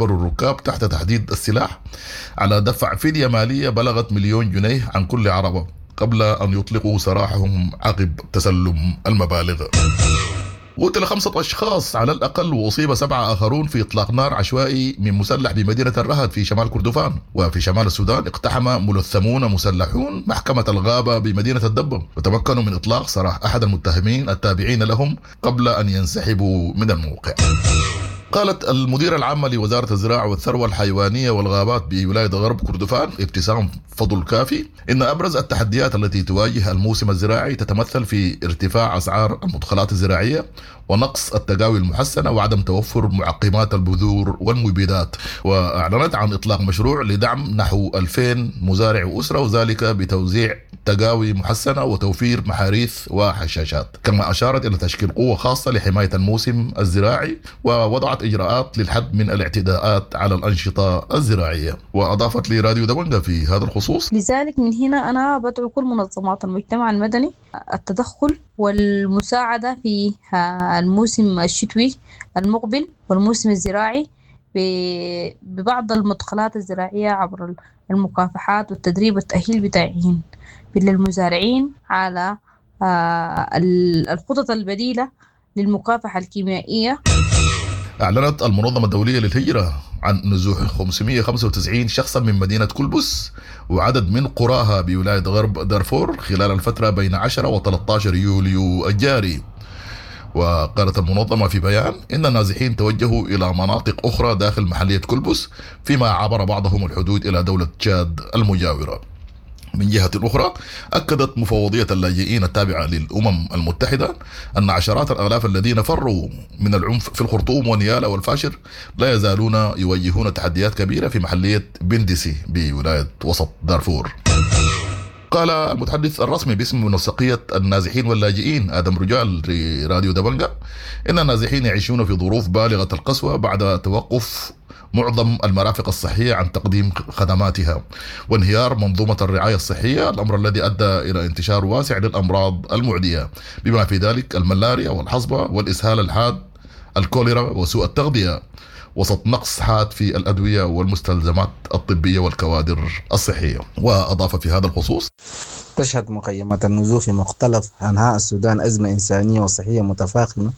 الركاب تحت تهديد السلاح على دفع فدية مالية بلغت 1,000,000 جنيه عن كل عربة قبل أن يطلقوا سراحهم عقب تسلم المبالغ. قتل 5 أشخاص على الأقل وأصيب 7 آخرون في إطلاق نار عشوائي من مسلح بمدينة الرهد في شمال كردفان. وفي شمال السودان اقتحم ملثمون مسلحون محكمة الغابة بمدينة الدبة وتمكنوا من إطلاق سراح أحد المتهمين التابعين لهم قبل أن ينسحبوا من الموقع. قالت المديرة العامة لوزارة الزراعة والثروة الحيوانية والغابات بولاية غرب كردفان ابتسام فضل كافي إن أبرز التحديات التي تواجه الموسم الزراعي تتمثل في ارتفاع أسعار المدخلات الزراعية ونقص التقاوي المحسنة وعدم توفر معقمات البذور والمبيدات. وأعلنت عن إطلاق مشروع لدعم نحو 2000 مزارع وأسرة، وذلك بتوزيع تقاوي محسنة وتوفير محاريث وحشاشات. كما أشارت إلى تشكيل قوة خاصة لحماية الموسم الزراعي ووضعت إجراءات للحد من الاعتداءات على الأنشطة الزراعية. وأضافت لراديو دبنجة في هذا الخصوص: لذلك من هنا أنا بدعو كل منظمات المجتمع المدني التدخل والمساعدة في الموسم الشتوي المقبل والموسم الزراعي ببعض المدخلات الزراعية عبر المكافحات والتدريب والتأهيل بتاعين للمزارعين على الخطط البديلة للمكافحة الكيميائية. أعلنت المنظمة الدولية للهجرة عن نزوح 595 شخصا من مدينة كلبس وعدد من قراها بولاية غرب دارفور خلال الفترة بين 10 و 13 يوليو الجاري. وقالت المنظمة في بيان إن النازحين توجهوا إلى مناطق أخرى داخل محلية كلبس، فيما عبر بعضهم الحدود إلى دولة تشاد المجاورة. من جهة أخرى، أكدت مفوضية اللاجئين التابعة للأمم المتحدة أن عشرات الآلاف الذين فروا من العنف في الخرطوم ونيالا والفاشر لا يزالون يواجهون تحديات كبيرة في محلية بندسي بولاية وسط دارفور. قال المتحدث الرسمي باسم منسقية النازحين واللاجئين آدم رجال لراديو دبنجة إن النازحين يعيشون في ظروف بالغة القسوة بعد توقف معظم المرافق الصحية عن تقديم خدماتها وانهيار منظومة الرعاية الصحية، الأمر الذي أدى إلى انتشار واسع للأمراض المعدية بما في ذلك الملاريا والحصبة والإسهال الحاد، الكوليرا وسوء التغذية، وسط نقص حاد في الأدوية والمستلزمات الطبية والكوادر الصحية. وأضاف في هذا الخصوص: تشهد مخيمات النزوح في مختلف أنحاء السودان أزمة إنسانية وصحية متفاقمة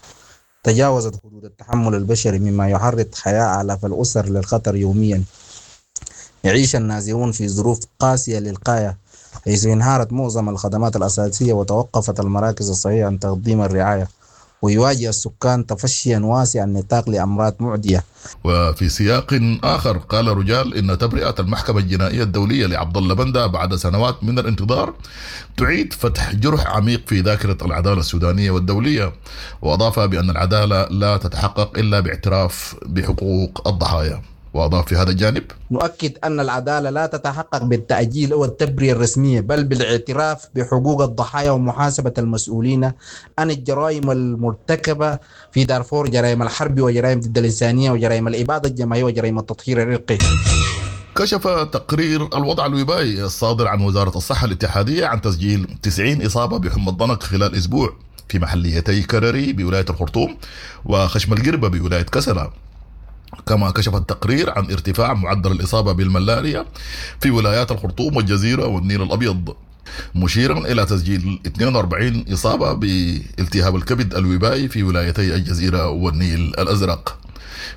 تجاوزت حدود التحمل البشري، مما يعرض حياة آلاف الأسر للخطر يوميا. يعيش النازحون في ظروف قاسية للغاية، حيث انهارت معظم الخدمات الأساسية وتوقفت المراكز الصحية عن تقديم الرعاية، ويواجه السكان تفشيا واسع النطاق لأمراض معدية. وفي سياق آخر، قال رجال إن تبرئة المحكمة الجنائية الدولية لعبد الله بندا بعد سنوات من الانتظار تعيد فتح جرح عميق في ذاكرة العدالة السودانية والدولية، وأضاف بأن العدالة لا تتحقق إلا باعتراف بحقوق الضحايا. وأضاف في هذا الجانب: نؤكد أن العدالة لا تتحقق بالتأجيل أو التبرئة الرسمية، بل بالاعتراف بحقوق الضحايا ومحاسبة المسؤولين عن الجرائم المرتكبة في دارفور، جرائم الحرب وجرائم ضد الإنسانية وجرائم الإبادة الجماعية وجرائم التطهير العرقي. كشف تقرير الوضع الوبائي الصادر عن وزارة الصحة الاتحادية عن تسجيل 90 إصابة بحمى الضنك خلال أسبوع في محليتي كرري بولاية الخرطوم وخشم القربة بولاية كسلا. كما كشف التقرير عن ارتفاع معدل الإصابة بالملاريا في ولايات الخرطوم والجزيرة والنيل الأبيض، مشيرا إلى تسجيل 42 إصابة بالتهاب الكبد الوبائي في ولايتي الجزيرة والنيل الأزرق.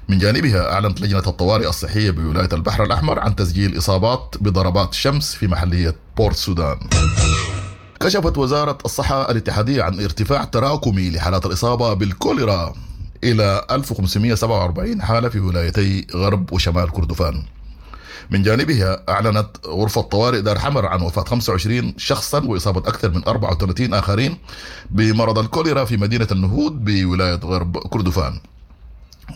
من جانبها، أعلنت لجنة الطوارئ الصحية بولاية البحر الأحمر عن تسجيل إصابات بضربات شمس في محلية بورت سودان. كشفت وزارة الصحة الاتحادية عن ارتفاع تراكمي لحالات الإصابة بالكوليرا إلى 1547 حالة في ولايتي غرب وشمال كردفان. من جانبها، أعلنت غرفة طوارئ دار حمر عن وفاة 25 شخصا وإصابة أكثر من 34 آخرين بمرض الكوليرا في مدينة النهود بولاية غرب كردفان.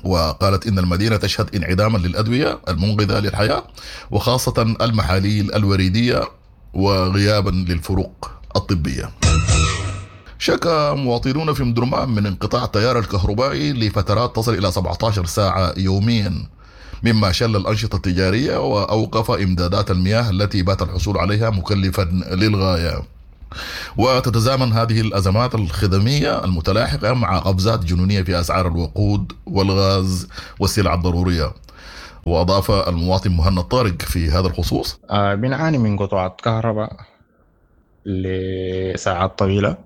وقالت إن المدينة تشهد انعداما للأدوية المنقذة للحياة، وخاصة المحاليل الوريدية، وغيابا للفروق الطبية. شكا مواطنون في مدرمان من انقطاع التيار الكهربائي لفترات تصل إلى 17 ساعة يوميا، مما شل الأنشطة التجارية وأوقف إمدادات المياه التي بات الحصول عليها مكلفا للغاية. وتتزامن هذه الأزمات الخدمية المتلاحقة مع قفزات جنونية في أسعار الوقود والغاز والسلع الضرورية. وأضاف المواطن مهند طارق في هذا الخصوص: بنعاني من قطعات كهرباء لساعات طويلة،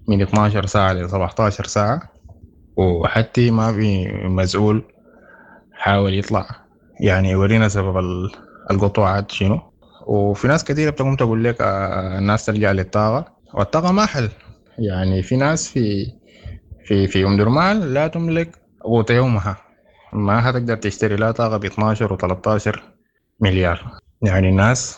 من 12 ساعة ل 17 ساعة، وحتى ما في مسؤول حاول يطلع يعني يورينا سبب القطوعات شنو. وفي ناس كثيرة بتقوم تقول لك الناس ترجع للطاقة، والطاقة ما حل. يعني في ناس في في في أم درمان لا تملك قوت يومها، ما هتقدر تشتري لا طاقة ب 12 و 13 مليار. يعني الناس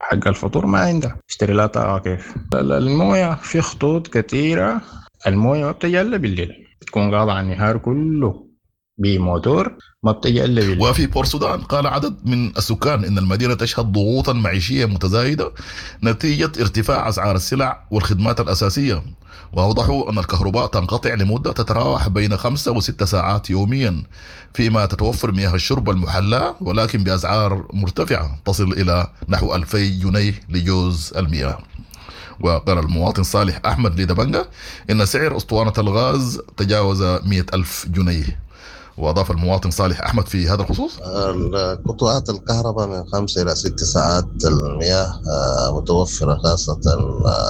حق الفطور ما عندها، تشتري لا طاقة كيف؟ الموية في خطوط كثيرة، الموية ما بتجي إلا بالليل، بتكون قاطعة النهار كله بموتور، ما بتجي إلا بالليل. وفي بورسودان قال عدد من السكان إن المدينة تشهد ضغوطا معيشية متزايدة نتيجة ارتفاع أسعار السلع والخدمات الأساسية، وأوضحوا أن الكهرباء تنقطع لمدة تتراوح بين 5 و6 ساعات يوميا، فيما تتوفر مياه الشرب المحلاة ولكن بأسعار مرتفعة تصل إلى نحو 2000 جنيه لجوز المياه. وقال المواطن صالح أحمد لدبنجة إن سعر أسطوانة الغاز تجاوز 100,000 جنيه. وأضاف المواطن صالح أحمد في هذا الخصوص: قطوعات الكهرباء من 5 إلى 6 ساعات، المياه متوفرة خاصة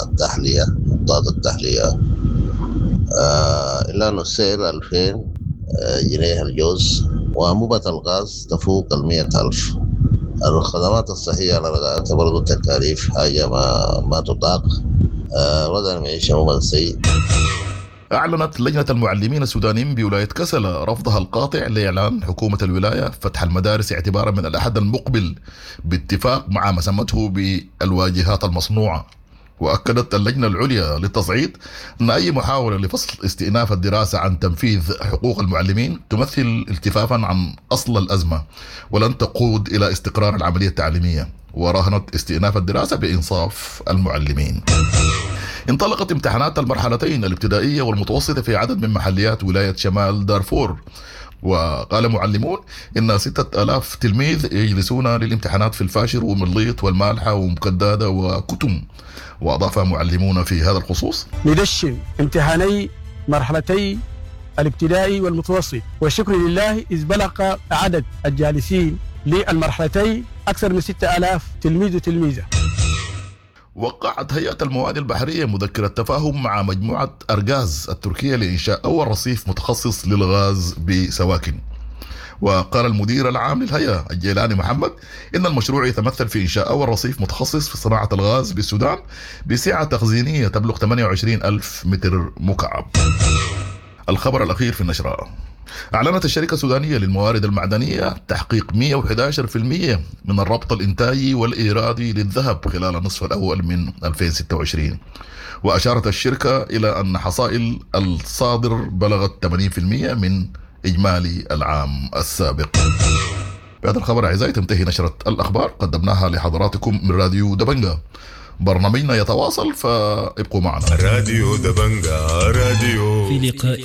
التحلية، محطات التحلية، إلا أن السعر 2000 جنيه الجوز، وأنبوبة الغاز تفوق 100,000. الخدمات الصحية على رغايتها برضو التكاليف حاجة ما تطاق. وضع المعيشة عموما سيء. أعلنت لجنة المعلمين السودانيين بولاية كسلا رفضها القاطع لإعلان حكومة الولاية فتح المدارس اعتبارا من الأحد المقبل باتفاق مع ما سمته بالواجهات المصنوعة. وأكدت اللجنة العليا للتصعيد أن أي محاولة لفصل استئناف الدراسة عن تنفيذ حقوق المعلمين تمثل التفافا عن أصل الأزمة ولن تقود إلى استقرار العملية التعليمية، وراهنت استئناف الدراسة بإنصاف المعلمين. انطلقت امتحانات المرحلتين الابتدائية والمتوسطة في عدد من محليات ولاية شمال دارفور، وقال معلمون إن 6000 تلميذ يجلسون للامتحانات في الفاشر ومليط والمالحة ومكدادة وكتم. وأضاف معلمون في هذا الخصوص: ندشن امتحاني مرحلتي الابتدائي والمتوسط، والشكر لله إذ بلغ عدد الجالسين للمرحلتين أكثر من 6000 تلميذ وتلميذة. وقعت هيئة الموانئ البحرية مذكرة تفاهم مع مجموعة أرغاز التركية لإنشاء أول رصيف متخصص للغاز بسواكن. وقال المدير العام للهيئة الجيلاني محمد إن المشروع يتمثل في إنشاء أول رصيف متخصص في صناعة الغاز بالسودان بسعة تخزينية تبلغ 28,000 متر مكعب. الخبر الأخير في النشرة: أعلنت الشركة السودانية للموارد المعدنية تحقيق 111% من الربط الإنتاجي والإيرادي للذهب خلال النصف الأول من 2026. وأشارت الشركة إلى أن حصائل الصادر بلغت 80% من إجمالي العام السابق. بهذا الخبر أعزائي تنتهي نشرة الأخبار قدمناها لحضراتكم من راديو دبنجة. برنامجنا يتواصل فابقوا معنا. راديو دبنجة راديو في لقاء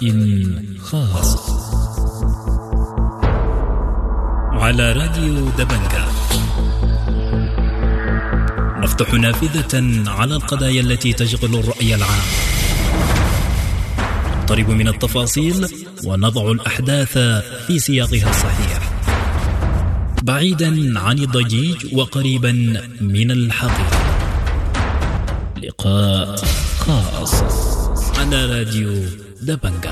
خاص على راديو دبنجة نفتح نافذة على القضايا التي تشغل الرأي العام، نقترب من التفاصيل ونضع الأحداث في سياقها الصحيح، بعيدا عن الضجيج وقريبا من الحقيقة. لقاء خاص على راديو دبنجة.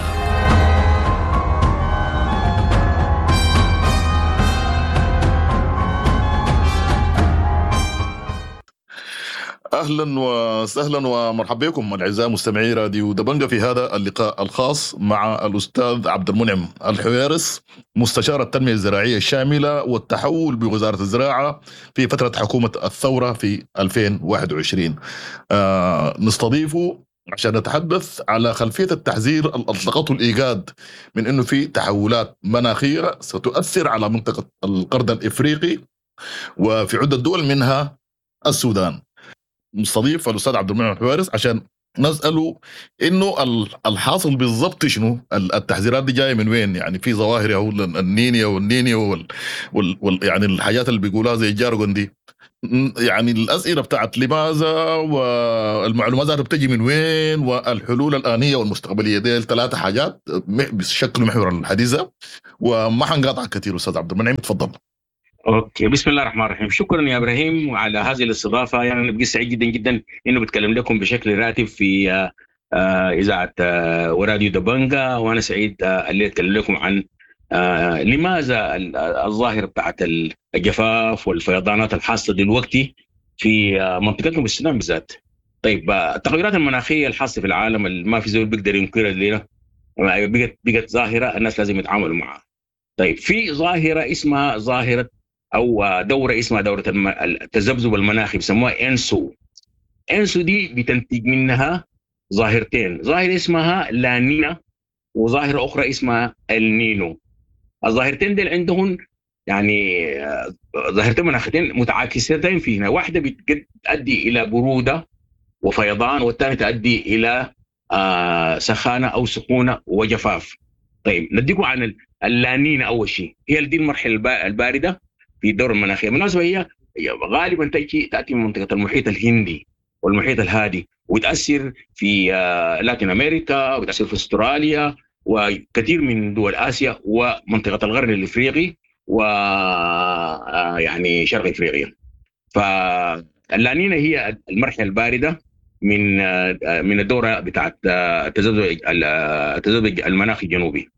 اهلا وسهلا ومرحبا بكم الاعزاء مستمعي راديو دبنجة في هذا اللقاء الخاص مع الاستاذ عبد المنعم الحويرس، مستشار التنمية الزراعية الشاملة والتحول بوزارة الزراعة في فترة حكومة الثورة في 2021. نستضيفه عشان نتحدث على خلفية التحذير اللي اطلقته الايجاد من انه في تحولات مناخيه ستؤثر على منطقة القرن الافريقي وفي عده دول منها السودان. مستضيف الاستاذ عبد المنعم الحوارس عشان نساله انه الحاصل بالضبط شنو؟ التحذيرات دي جاية من وين؟ يعني في ظواهر او النينيا والنينيا وال يعني الحاجات اللي بيقولوها زي ال jargon دي، يعني الاسئلة بتاعت لماذا والمعلومات ذاتها بتجي من وين والحلول الانية والمستقبليه، دي ثلاثة حاجات بشكل محور الحديث ده، وما حنقاطع كثير. استاذ عبد المنعم تفضل. okay، بسم الله الرحمن الرحيم. شكرا يا ابراهيم على هذه الاستضافة. يعني انا بقيت سعيد جدا جدا انه بتكلم لكم بشكل راتب في اذاعة وراديو دبنجا، وانا سعيد اللي اتكلم لكم عن لماذا الظاهرة بتاعت الجفاف والفيضانات الحاصلة دلوقتي في منطقتنا بالسودان بالذات. طيب، التغيرات المناخية الحاصلة في العالم اللي ما في زول بيقدر ينكرها لنا بقت ظاهره الناس لازم يتعاملوا معها. طيب، في ظاهره اسمها ظاهره او دوره اسمها دوره التذبذب المناخي، بيسموها ENSO. ENSO دي بتنتج منها ظاهرتين، ظاهره اسمها لانينا وظاهره اخرى اسمها النينو. الظاهرتين دي عندهم يعني ظاهرتين مناخيتين متعاكستين فينا، واحدة بتؤدي الى برودة وفيضان، والثانية تؤدي الى سخانه او سخونة وجفاف. طيب، نديكم عن اللانينا اول شيء، هي دي المرحلة البارده في الدورة المناخية. بالمناسبة هي غالبا تاتي من منطقة المحيط الهندي والمحيط الهادي، وتاثر في لاتين امريكا، وتاثر في استراليا وكثير من دول اسيا ومنطقة القرن الافريقي و يعني شرق افريقيا. فاللانينا هي المرحلة البارده من الدورة بتاعت التذبذب المناخي الجنوبي.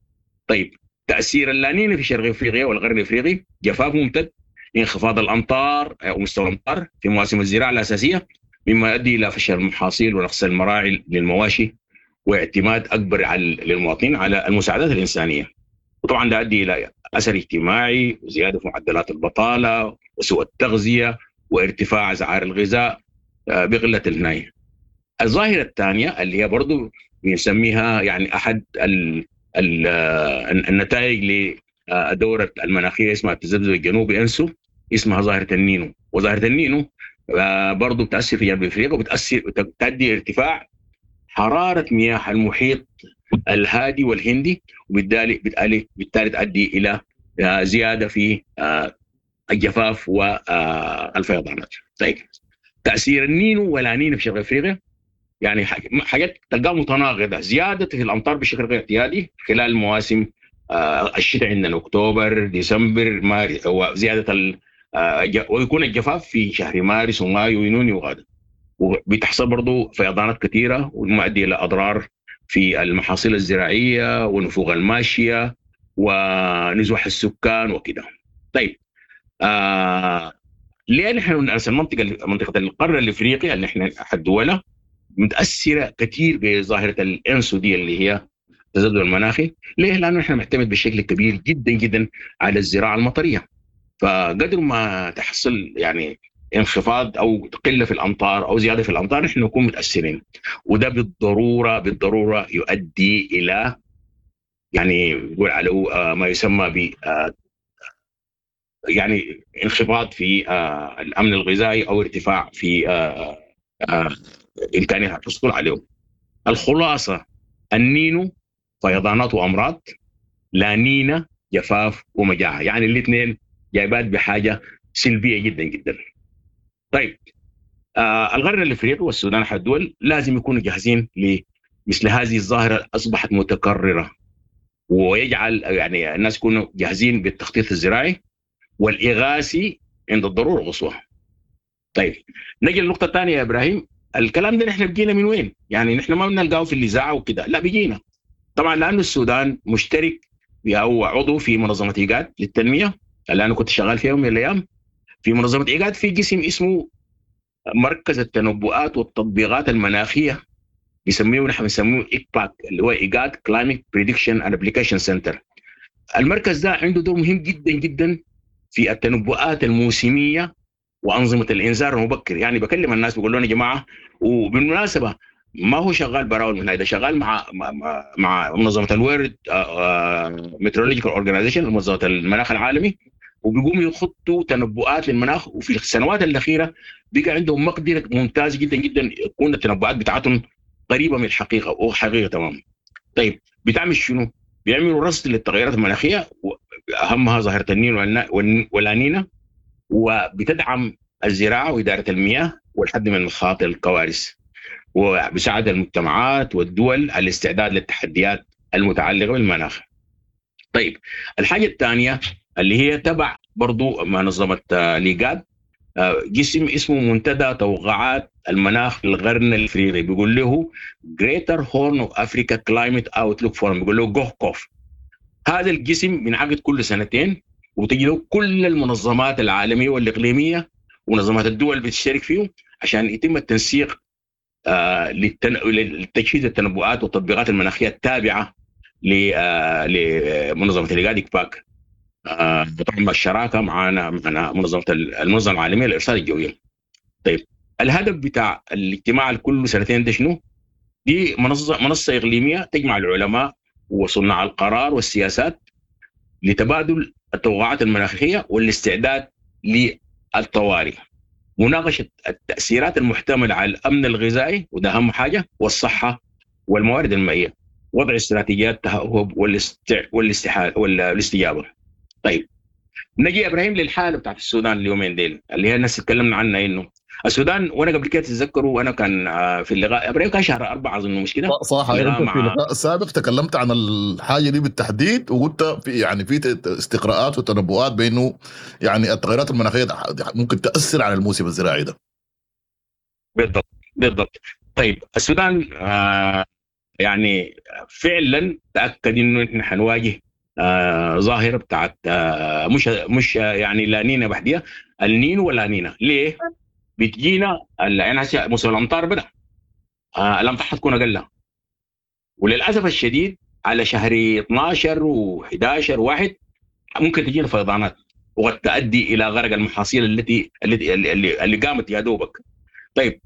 طيب، تاثير اللانينا في شرق افريقيا والغرب الافريقي جفاف ممتد، انخفاض الامطار او مستوى الامطار في مواسم الزراعة الاساسية، مما يؤدي الى فشل المحاصيل ونقص المراعي للمواشي واعتماد اكبر على للمواطنين على المساعدات الانسانية. وطبعا ده يؤدي الى اثر اجتماعي وزيادة في معدلات البطالة وسوء التغذية وارتفاع اسعار الغذاء بقلة الهنايه. الظاهرة الثانية اللي هي برضو بنسميها يعني احد ال ال النتائج لدوره المناخية اسمها التذبذب الجنوبي ENSO، اسمها ظاهره النينو. وظاهره النينو برضو بتاثر في جنوب افريقيا وبتاثر تؤدي ارتفاع حرارة مياه المحيط الهادي والهندي، وبالتالي بالتالي تؤدي الى زيادة في الجفاف والفيضانات. طيب، تاثير النينو والانينا في شرق افريقيا يعني حاجات تلقاها متناقضة، زيادة في الامطار بشكل غير اعتيادي خلال مواسم الشتاء عندنا اكتوبر ديسمبر مارس، وزيادة ويكون الجفاف في شهر مارس ومايو ويونيو وغدا. وبتحصل برضه فيضانات كثيرة ومؤدية الى اضرار في المحاصيل الزراعية ونفوق الماشية ونزوح السكان وكده. طيب، ليه نحن المنطقة منطقة القرن الافريقي اللي احنا احد دولها متاثرة كثير بظاهره ال ENSO دي اللي هي التذبذب المناخي؟ ليه؟ لانه احنا نعتمد بشكل كبير جدا جدا على الزراعة المطريه. فقدر ما تحصل يعني انخفاض او قلة في الامطار او زيادة في الامطار نحن نكون متاثرين، وده بالضرورة يؤدي الى يعني يقول على ما يسمى ب يعني انخفاض في الامن الغذائي او ارتفاع في امكانية الحصول عليهم. الخلاصة النينو فيضانات وامراض، لا نينا جفاف ومجاعه، يعني الاثنين جايبات بحاجة سلبية جدا جدا. طيب، القرن الافريقي والسودان احد الدول لازم يكونوا جاهزين لمثل هذه الظاهرة اصبحت متكررة، ويجعل يعني الناس يكونوا جاهزين بالتخطيط الزراعي والاغاثي عند الضرورة القصوى. طيب، نجي للنقطة الثانية يا ابراهيم، الكلام ده نحن بيجينا من وين؟ يعني نحن ما بنلقاه في الاذاعة وكده، لا بيجينا طبعا لانه السودان مشترك او عضو في منظمة ايجاد للتنمية اللي انا كنت شغال فيها يوم من الايام. في منظمة ايجاد في قسم اسمه مركز التنبؤات والتطبيقات المناخية، بيسميه نحن بنسميه ICPAC اللي هو IGAD Climate Prediction and Application Center. المركز ده عنده دور مهم جدا جدا في التنبؤات الموسمية وانظمة الانذار المبكر. يعني بكلم الناس بقول لهم يا جماعة، وبالمناسبة ما هو شغال براو من ده، شغال مع منظمة ال World Meteorological Organization، منظمة المناخ العالمي، وبيقوموا يخطوا تنبؤات للمناخ. وفي السنوات الاخيرة بقى عندهم مقدره ممتازة جدا جدا يكون التنبؤات بتاعتهم قريبه من الحقيقة وحقيقة تمام. طيب بتعمل شنو؟ بيعملوا رصد للتغيرات المناخية، اهمها ظاهره النينو واللانينا، وبتدعم الزراعة واداره المياه والحد من مخاطر الكوارث، وبيساعد المجتمعات والدول على الاستعداد للتحديات المتعلقة بالمناخ. طيب الحاجة الثانية اللي هي تبع برضو منظمة ليغاد، جسم اسمه منتدى توقعات المناخ في القرن الافريقي، بيقول له Greater Horn of Africa Climate Outlook Forum، بيقول له GHOCOF. هذا الجسم بينعقد كل سنتين، وتجي له كل المنظمات العالمية والاقليميه ومنظمات الدول بتشترك فيه عشان يتم التنسيق لتجهيز التنبؤات والتطبيقات المناخية التابعة لمنظمة الايجاد ICPAC، طبعا الشراكة معنا منظمة المنظمة العالمية للارصاد الجوية. طيب الهدف بتاع الاجتماع الكل سنتين ده شنو؟ دي منصة اقليمية تجمع العلماء وصناع القرار والسياسات لتبادل التوقعات المناخية والاستعداد للطوارئ، مناقشة التاثيرات المحتملة على الامن الغذائي وده اهم حاجة، والصحة والموارد المائية، وضع استراتيجيات التههب والاستجابة. طيب نجي يا ابراهيم للحالة بتاعت السودان اليومين ديل اللي هي الناس تكلمنا عنها، انه السودان، وانا قبل كده تتذكروا وانا كان في اللقاء ابراهيم كان شهر 4 اظن، مش كده؟ صح، انت في اللقاء السابق تكلمت عن الحاجة دي بالتحديد، وقلت في يعني في استقراءات وتنبؤات بانه يعني التغيرات المناخية ممكن تاثر على الموسم الزراعي ده. بالضبط بالضبط. طيب السودان يعني فعلا تاكد انه احنا حنواجه ظاهره بتاعت مش يعني لا نينا بحديها، النينو ولا نينا. ليه؟ بتجينا يعني هسه موسم الامطار بدا، الامطار حتكون اقل، وللاسف الشديد على شهر 12 و11 و1 ممكن تجينا فيضانات وقد تؤدي الى غرق المحاصيل التي التي اللي قامت يا دوبك. طيب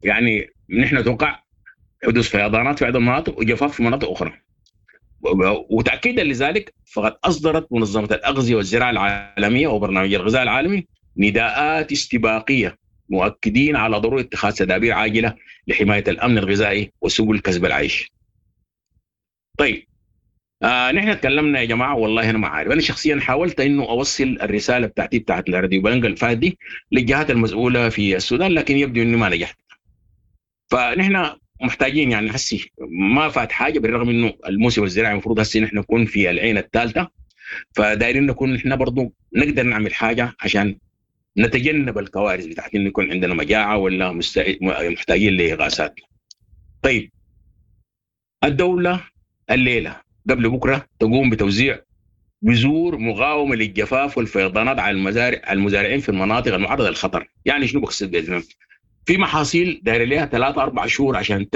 يعني نحن نتوقع حدوث فيضانات في بعض المناطق وجفاف في مناطق اخرى. وتاكيدا لذلك فقد اصدرت منظمة الاغذية والزراعة العالمية وبرنامج الغذاء العالمي نداءات استباقية مؤكدين على ضرورة اتخاذ تدابير عاجله لحماية الامن الغذائي وسبل كسب العيش. طيب نحن تكلمنا يا جماعة، والله انا ما عارف، انا شخصيا حاولت انه اوصل الرسالة بتاعتي بتاعت الراديو بلنجا الفات دي للجهات المسؤولة في السودان، لكن يبدو اني ما نجحت. فنحن محتاجين يعني هسي ما فات حاجة، بالرغم انه الموسم الزراعي المفروض هسي نحن نكون في العين الثالثة، فدايرين نكون نحن برضو نقدر نعمل حاجة عشان نتجنب الكوارث بتاعت انه يكون عندنا مجاعة ولا محتاجين لاغاثات. طيب الدولة الليلة قبل بكره تقوم بتوزيع بذور مقاومة للجفاف والفيضانات على المزارعين في المناطق المعرضه للخطر. يعني شنو بقصد باذن؟ في محاصيل داير لها 3 4 شهور عشان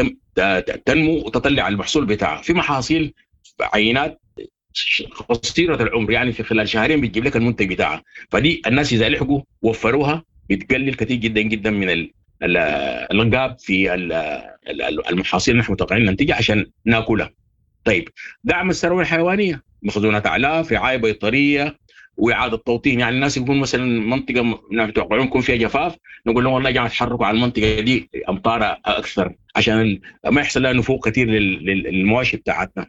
تنمو وتطلع المحصول بتاعها، في محاصيل عينات قصيرة العمر، يعني في خلال شهرين بتجيب لك المنتج بتاعها، فدي الناس اذا لحقوا وفروها بتقلل كثير جدا جدا من الانقاب في المحاصيل اللي نحن متوقعين ننتجها عشان ناكلها. طيب دعم الثروة الحيوانية، مخزونات اعلاف، رعاية بيطريه، واعاده توطين. يعني الناس يكون مثلا منطقة متوقعون يكون فيها جفاف، نقول لهم والله يا جماعة تحركوا على المنطقة دي امطار اكثر عشان ما يحصل لها نفوق كثير للمواشي بتاعتنا.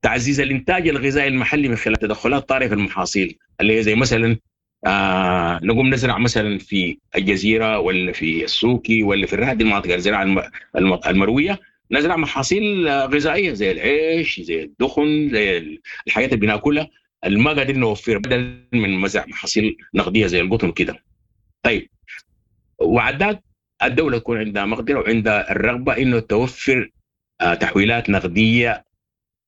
تعزيز الانتاج الغذائي المحلي من خلال تدخلات طارئة في المحاصيل اللي هي زي مثلا نقوم نزرع مثلا في الجزيرة ولا في السوكي ولا في الرهد، المناطق الزراعة المروية، نزرع محاصيل غذائية زي العيش، زي الدخن، زي الحاجات اللي بناكلها اللي ما قادرين نوفرها، بدل من مزرع محاصيل نقدية زي القطن كده. طيب وعدات الدولة تكون عندها مقدره وعندها الرغبة انه توفر تحويلات نقدية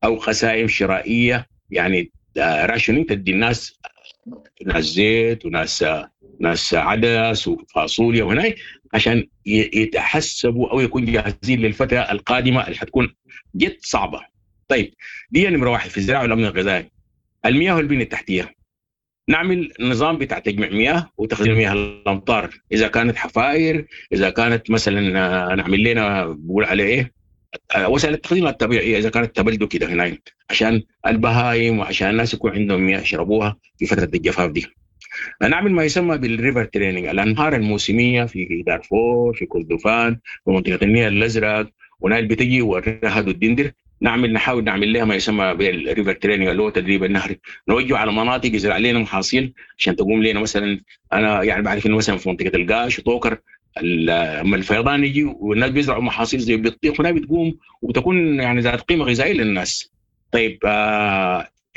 او قسائم شرائية، يعني راشنين تدي الناس، ناس زيت وناس ناس عدس وفاصوليا وهناك، عشان يتحسبوا او يكون جاهزين للفترة القادمة اللي حتكون جد صعبة. طيب دي نمره واحد في الزراعة والامن الغذائي. المياه والبنية التحتية، نعمل نظام بتاع تجميع مياه وتخزين مياه الامطار، اذا كانت حفاير، اذا كانت مثلا نعمل لنا بقول عليه ايه وسائل التخزين الطبيعية، اذا كانت تبلد كده هناك عشان البهايم وعشان الناس يكون عندهم مياه يشربوها في فترة الجفاف دي. نعمل ما يسمى بال river training، الانهار الموسمية في دارفور، في كردفان، في منطقة النيل الازرق، ونايل بتجي والرهد والدندر، نحاول نعمل لها ما يسمى بال river training اللي هو تدريب النهر، نوجه على مناطق يزرع لنا محاصيل عشان تقوم لنا. مثلا انا يعني بعرف انه مثلا في منطقة القاش وطوكر لما الفيضان يجي والناس بيزرعوا محاصيل زي البطيخ هنا بتقوم وبتكون يعني ذات قيمة غذائية للناس. طيب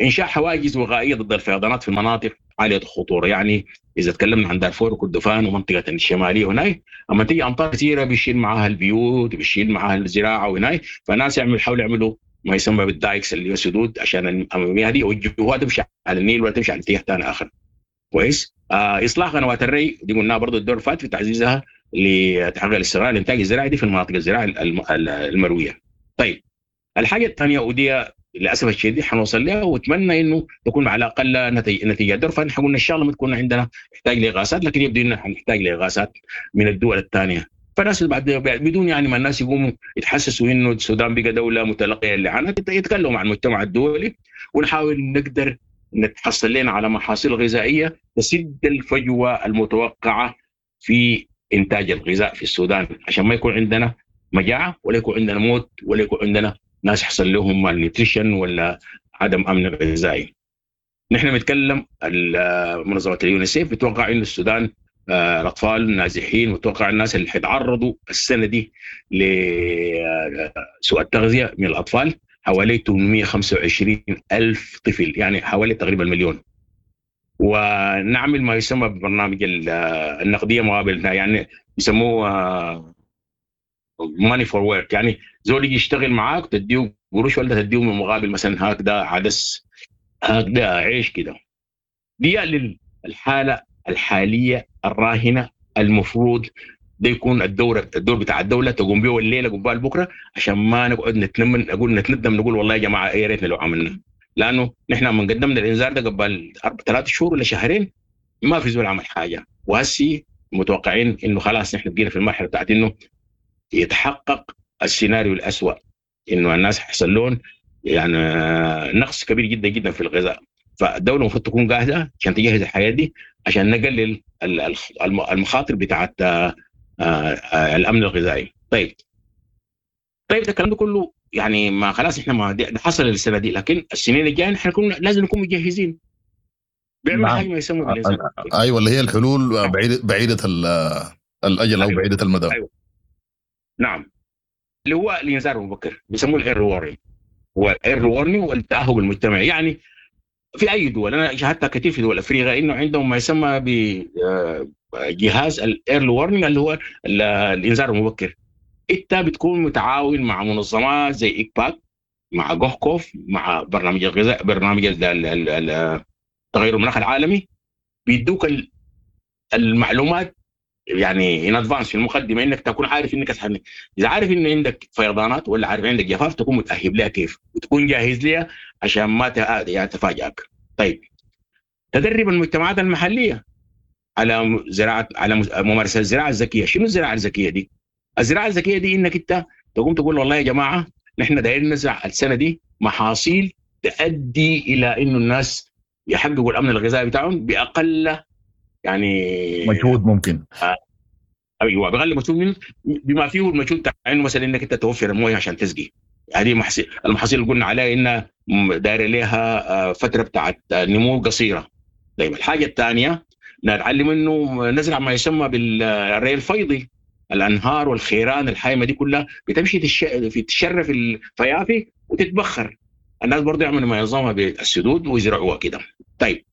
انشاء حواجز وقائيه ضد الفيضانات في المناطق عالية الخطورة، يعني اذا تكلمنا عن دارفور وكردفان ومنطقة الشمالية هناك، اما تيجي امطار كثيرة بيشيل معاها البيوت بيشيل معاها الزراعة وهناك، فالناس يحاولوا يعملوا ما يسمى بال dikes اللي هو السدود عشان المياه دي يوجهوها تمشي على النيل ولا تمشي على اتجاه ثاني اخر. كويس. اصلاح قنوات الري دي قلناها برضه الدور فات في تعزيزها لتحقيق الاستقرار الانتاج الزراعي دي في المناطق الزراعية المروية. طيب الحاجة الثانية ودي للاسف الشديد حنوصل لها، واتمنى انه تكون على الاقل نتيجة دور، فنحن قلنا ان شاء الله ما تكون عندنا نحتاج لاغاثات، لكن يبدو انه حنحتاج لاغاثات من الدول الثانية. فالناس بعد بدون يعني ما الناس يقوموا يتحسسوا انه السودان بقى دولة متلقيه للاعانات، يتكلموا مع المجتمع الدولي ونحاول نقدر نتحصل لنا على محاصيل غذائية تسد الفجوة المتوقعة في انتاج الغذاء في السودان، عشان ما يكون عندنا مجاعة ولا يكون عندنا موت ولا يكون عندنا ناس يحصل لهم malnutrition ولا عدم امن غذائي. نحن بنتكلم منظمة اليونيسيف بتوقع انه السودان الاطفال النازحين، وتوقع الناس اللي حيتعرضوا السنة دي لسوء التغذية من الاطفال حوالي 825 ألف طفل، يعني حوالي تقريبا مليون. ونعمل ما يسمى ببرنامج النقدية مقابل، يعني يسموه money for work، يعني زول يجي يشتغل معاك تديه قروش ولا تديه من مقابل مثلا هكذا عدس هكذا عيش كده. دي للحالة الحالية الراهنة المفروض ده يكون الدور بتاع الدولة تقوم به الليلة قبال بكره، عشان ما نقعد نتندم نقول والله يا جماعة يا ريتنا لو عملنا، لانه نحن من قدمنا الانذار ده قبل 3 شهور ولا شهرين ما في زول عمل حاجة، وهسي متوقعين انه خلاص نحن بقينا في المرحلة بتاعت انه يتحقق السيناريو الأسوأ، انه الناس حيحصل لهم يعني نقص كبير جدا جدا في الغذاء. فالدولة المفروض تكون جاهزة عشان تجهز الحياة دي، عشان نقلل المخاطر بتاعت الامن الغذائي. طيب ده الكلام ده كله يعني ما خلاص احنا ما ده حصل السنة دي، لكن السنين الجاية نحن لازم نكون مجهزين. بيعمل حاجة ما يسمى بالإنسان. ايوه اللي هي الحلول بعيدة الاجل او بعيدة المدى. أيوة. نعم، اللي هو الانذار المبكر بيسموه ال early warning، هو ال early warning والتاهب المجتمعي. يعني في اي دول انا شاهدتها كثير في دول افريقيا انه عندهم ما يسمى بجهاز ال early warning اللي هو الانذار المبكر. انت بتكون متعاون مع منظمات زي ايكباك، مع جوهكوف، مع برنامج الغذاء، برنامج تغير المناخ العالمي، بيدوك المعلومات يعني in advance في المقدمة، انك تكون عارف انك اذا عارف ان عندك فيضانات ولا عارف عندك جفاف تكون متاهب لها كيف وتكون جاهز لها عشان ما يعني تفاجئك. طيب تدرب المجتمعات المحلية على زراعة، على ممارسة الزراعة الذكية. شنو الزراعة الذكية دي؟ الزراعة الذكية دي انك انت تقوم تقول والله يا جماعة نحن دايرين نزرع السنة دي محاصيل تؤدي الى انه الناس يحققوا الامن الغذائي بتاعهم باقل يعني مجهود ممكن. ايوه باقل مجهود، بما فيه المجهود بتاع انه مثلا انك انت توفر المويه عشان تسقي. هذه المحاصيل اللي قلنا عليها انها دايرة لها فترة بتاعت نمو قصيرة. طيب الحاجة الثانية نتعلم انه نزرع ما يسمى بالري الفيضي، الانهار والخيران الحايمه دي كلها بتمشي تتشرف الفيافي وتتبخر. الناس برضه يعملوا ما ينظمها بالسدود ويزرعوها كده. طيب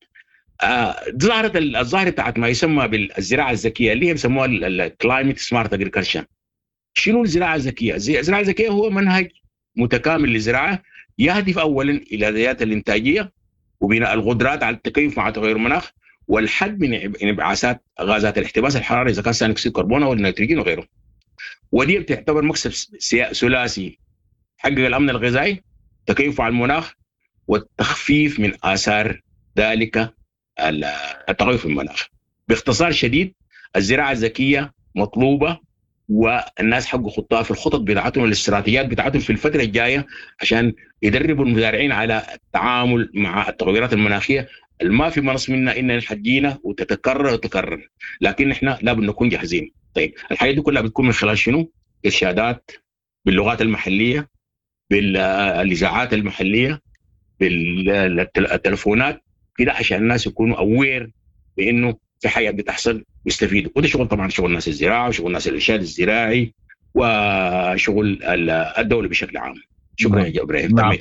ظهرت الظاهرة بتاعت ما يسمى بالزراعة الذكية اللي هي بيسموها ال climate smart agriculture. شنو الزراعة الذكية؟ الزراعة الذكية هو منهج متكامل للزراعة يهدف اولا الى زيادة الانتاجية وبناء القدرات على التكيف مع تغير المناخ والحد من انبعاثات غازات الاحتباس الحراري اذا كان ثاني اكسيد الكربون او النيتروجين وغيره. ودي بتعتبر مكسب ثلاثي: حقق الامن الغذائي، تكيف مع المناخ، والتخفيف من اثار ذلك التغير في المناخ. باختصار شديد الزراعة الذكية مطلوبه، والناس حقوا خطها في الخطط بتاعتهم والاستراتيجيات بتاعتهم في الفترة الجاية عشان يدربوا المزارعين على التعامل مع التغيرات المناخية ما في منص منا ان حتجينا وتتكرر وتكرر، لكن احنا لابد نكون جاهزين. طيب الحاجات دي كلها بتكون من خلال شنو؟ ارشادات باللغات المحلية، بالاذاعات المحلية، بالتلفونات كده، عشان الناس يكونوا aware بانه في حاجات بتحصل ويستفيدوا. وده شغل طبعا شغل ناس الزراعة وشغل ناس الارشاد الزراعي وشغل الدولة بشكل عام. شكرا يا ابراهيم. نعم.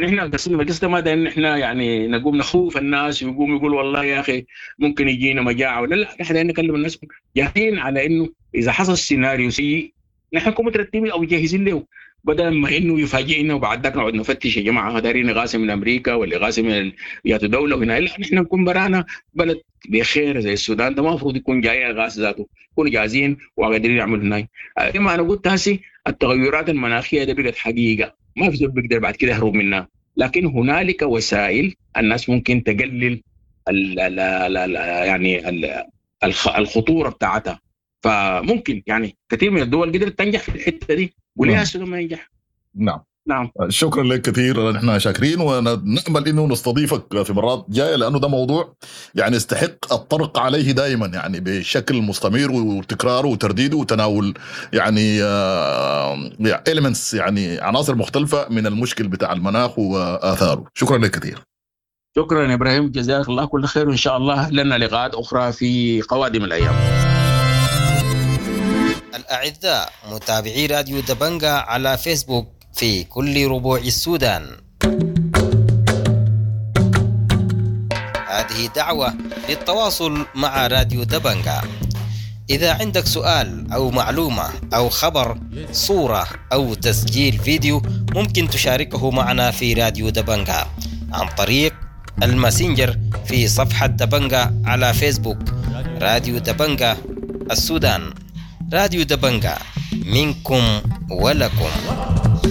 نحن قصدنا القصة ما ان احنا يعني نقوم نخوف الناس ويقوم يقول والله يا اخي ممكن يجينا مجاعة ولا لا، نحن نكلم الناس جاهزين على انه اذا حصل سيناريو سيء نحن نكون مترتبين او جاهزين له، بدل ما انه يفاجئنا وبعد ذاك نقعد نفتش يا جماعة دارين اغاثه من امريكا ولا اغاثه من ياتو دولة وهنا. لا، نحن نكون برانا بلد بخير زي السودان ده ما المفروض يكون جاي اغاثه ذاته، يكونوا جاهزين وقادرين يعملوا هناك. كما انا قلت هسي التغيرات المناخية ده بقت حقيقة، ما في زول بيقدر بعد كده يهرب منها، لكن هنالك وسائل الناس ممكن تقلل ال ال ال يعني ال الخطورة بتاعتها. فممكن يعني كثير من الدول قدرت تنجح في الحتة دي، وليه السودان ما ينجح؟ نعم نعم. شكرا لك كثير، نحن شاكرين ونأمل انه نستضيفك في مرات جاية، لانه ده موضوع يعني يستحق الطرق عليه دائما، يعني بشكل مستمر وتكراره وترديده وتناول يعني elements، يعني عناصر مختلفة من المشكل بتاع المناخ واثاره. شكرا لك كثير. شكرا يا ابراهيم، جزاك الله كل خير، وان شاء الله لنا لقاءات اخرى في قوادم الايام. الاعزاء متابعي راديو دبنجا على فيسبوك في كل ربوع السودان، هذه دعوة للتواصل مع راديو دبنجا. إذا عندك سؤال أو معلومة أو خبر، صورة أو تسجيل فيديو، ممكن تشاركه معنا في راديو دبنجا عن طريق الماسنجر في صفحة دبنجا على فيسبوك. راديو دبنجا السودان، راديو دبنجا منكم ولكم.